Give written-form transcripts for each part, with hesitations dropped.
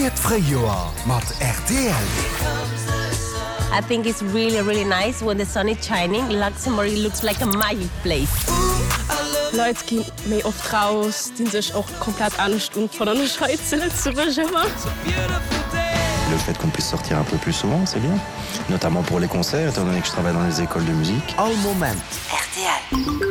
Spiert d'Fréijoer mat rtl. I think it's really really nice when the sun is shining, Luxembourg looks like a magic place. Leit gi méi oft raus, dinn sech och komplett anescht un, fannen ech hei zu Lëtzebuerg ëmmer. Le fait qu'on puisse sortir un peu plus souvent, c'est bien, notamment pour les concerts, étant donné que je travaille dans les écoles de musique. All Moment. Rtl.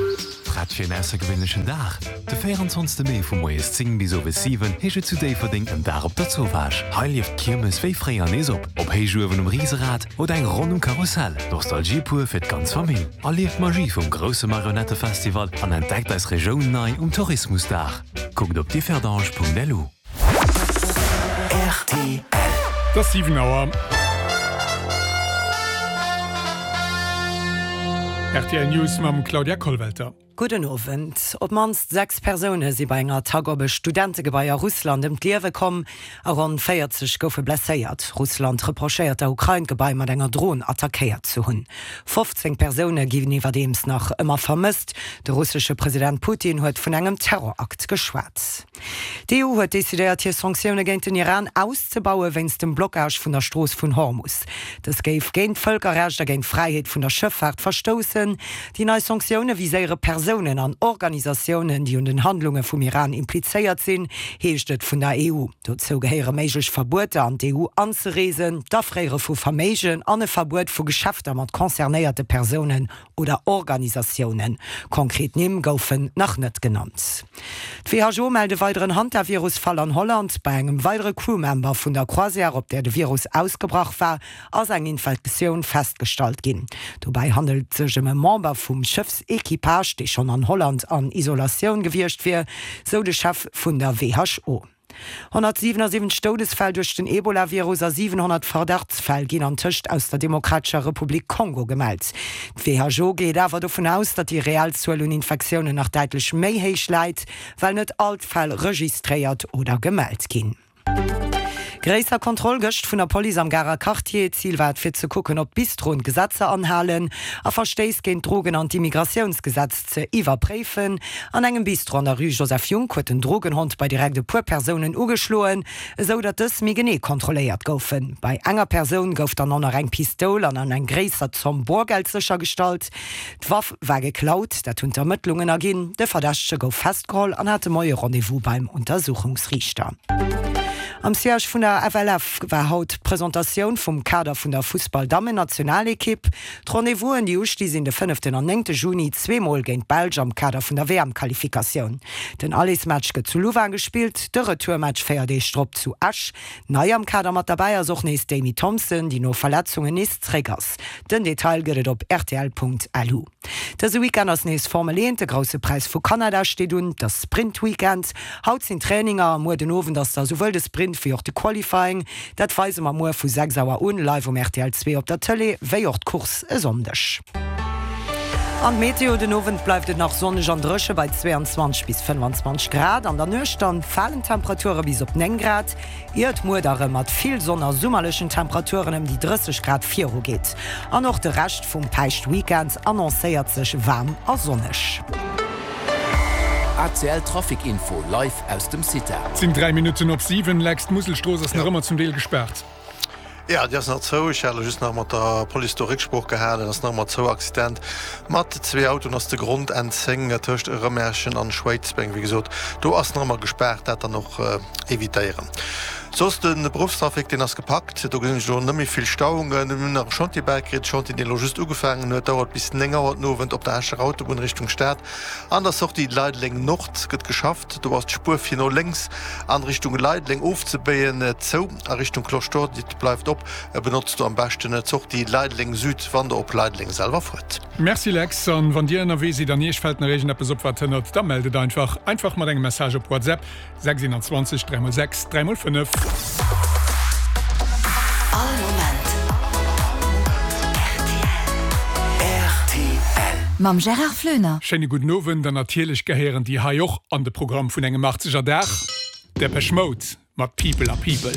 Prett fir en aussergewéinlechen Dag? De 24 Mee vu moies 10 bis owes 7 heescht et zu Déifferdeng en Dag op der Zowaasch. Hei lieft d'Kiermes wéi fréier nees op. Ob Héichuewen um Riserad oder eng Ronn um Karussell, Nostalgie pur fir d'ganz Famill. Erlieft d'Magie vum grousse Marionettefestival an entdeckt eis Regioun nei um Tourismusdag. Kuckt op differdange.lu. Rtl. Et ass 7 Auer. Rtl News mam Claudia Kollwelter. Gudden Owend. Op d'mannst 6 Persoune si bei enger Attack op e Studentegebai a Russland ëm d'Liewe komm a ronn 40 goufe blesséiert. Russland reprochéiert der Ukrain, d'Gebai mat enger Dron attackéiert ze hunn. 15 Persoune ginn iwwerdeems nach ëmmer vermësst. De russesche President Putin huet vun engem Terrorakt geschwat. D'EU huet decidéiert, hir Sanktioune géint den Iran auszebaue wéinst dem Blockage vun der Strooss vun Hormus. Dës géif géint d'Vëlkerrecht a géint d'Fräiheet vun der Schëffaart verstoussen. Déi nei Sanktioune viséiere Persounen an Organisatiounen, déi un den Handlunge vum Iran implizéiert sinn, heescht et vun der EU. Dozou gehéiere méiglech Verbueter an d'EU anzereesen, d'Afréiere vu Verméigen an e Verbuet vu Geschäfter mat concernéierte Persounen oder Organisatiounen. Konkret Nimm goufen nach net genannt. D'WHO mellt e weideren Hantavirus-Fall an Holland. Bei engem weidere Crewmember vun der Croisière, op där de Virus ausgebrach war, ass eng Infektioun festgestallt ginn. Dobäi handelt et sech ëm e Member vum Schëffsequipage, dee schonn an Holland an Isolatioun gewiescht wier, sou de Chef vun der WHO. 177 Doudesfäll duerch den Ebola-Virus a 700 Verdachtsfäll ginn antëscht aus der Demokratescher Republik Kongo gemellt. D'WHO geet awer dovun aus, datt déi reell Zuel un Infektiounen nach däitlech méi héich läit, well net all d'Fäll registréiert oder gemellt ginn. Gréisser Kontroll gëscht vun der Police am Garer Quartier. Zil war et fir ze kucken, ob d'Bistroen d'Gesetzer anhalen a Verstéiss géint d'Drogen an d'Immigratiounsgesetz ze iwwerpréifen. An engem Bistro an der Rue Joseph Junck huet den Drogenhond bei direkt e puer Persounen ugeschloen, esou datt dës méi genee kontrolléiert goufen. Bei enger Persoun gouf dann och nach eng Pistoul an an eng gréisser Zomm Borgeld séchergestallt. D'Waff war geklaut, dat hunn d'Ermëttlungen erginn. De Verdächtege gouf festgeholl an hat de Moie Rendez-vous beim Untersuchungsriichter. Am Siège vun der FLF war haut d'Presentatioun vum Kader vun der Fussball-Dammen-Nationalekipp. D'Rendez-vousen, déi usti sinn de fënneften an néngte Juni, zweemol géint d'Belsch am Kader vun der WM-Qualifikatioun. Den Allersmatch gëtt zu Louvain gespillt, de Retourmatch 4 Deeg drop zu Esch. Nei am Kader mat derbäi ass och nees d'Amy Thompson, déi no Verletzungen nees zréck ass. Den Detail gëtt et op rtl.lu. Dëse Weekend ass nees Formel 1, de Grousse Präis vu Kanada steet un. Et ass Sprint-Weekend. Haut sinn Traininger a muer den Owend ass da souwuel de Sprint wéi och de Qualifying. Dat weise mer muer vu 6 Auer un live um rtl 2 op der Tëlee, wéi och d'Course e Sonndeg. An d'Meteo, Den Owend bleift et nach sonneg an dréche bei 22 bis 25 Grad. An der Nuecht dann falen d'Temperature bis op 9 Grad, ier et muer da rëm mat vill Sonn a summerlechen Temperaturen ëm déi 30 Grad viru geet. An och de Rescht vum Päischtweekend annoncéiert sech waarm a sonneg. ACL Trafic Info live aus dem CITA. Et sinn 3 Minutten op 7. Lex, d'Muselstrooss ass nach ëmmer zum Deel gespaart. Jo, déi ass nach zou. Ech hat elo just nach mat der Police do Récksprooch gehalen. Ass nach ëmmer zou. Accident mat zwee Autoen ass de Grond. N 10 tëscht Rëmerschen an Schwéidsbeng. Wéi gesot, do ass nach ëmmer gespaart. Dat dann och evitéieren. Soss de Beruffstrafic, deen ass gepackt. Do gesinn ech elo net méi vill Stauungen. Mir hunn nach e Chantier bäikritt, Chantier, deen elo just ugefaangen huet, dauert bis 9 Auer den Owend op der Escher Autobunn Richtung Stad. An der Sortie Leideleng Nord gëtt geschafft. Do ass d'Spuer fir no lénks an Richtung Leideleng ofzebéien zou. A Richtung Cloche d'Or, déi bleift op. Benotzt do am beschten d'Sortie Leideleng Süd, wann der op Leideleng selwer fuert. Merci Lex, an wann dir ënnerwee sidd an iech fällt nach iergendeppes op wat hënnert, da mellt et einfach. Einfach mat engem Message op WhatsApp 6 21 3 x 6 3 x 5. All Moment rtl. Mam Gérard Floener. Schéine gudden Owend an natierlech gehéieren déi hei och an de Programm vun engem 80er Dag, Depeche Mode mat People Are People.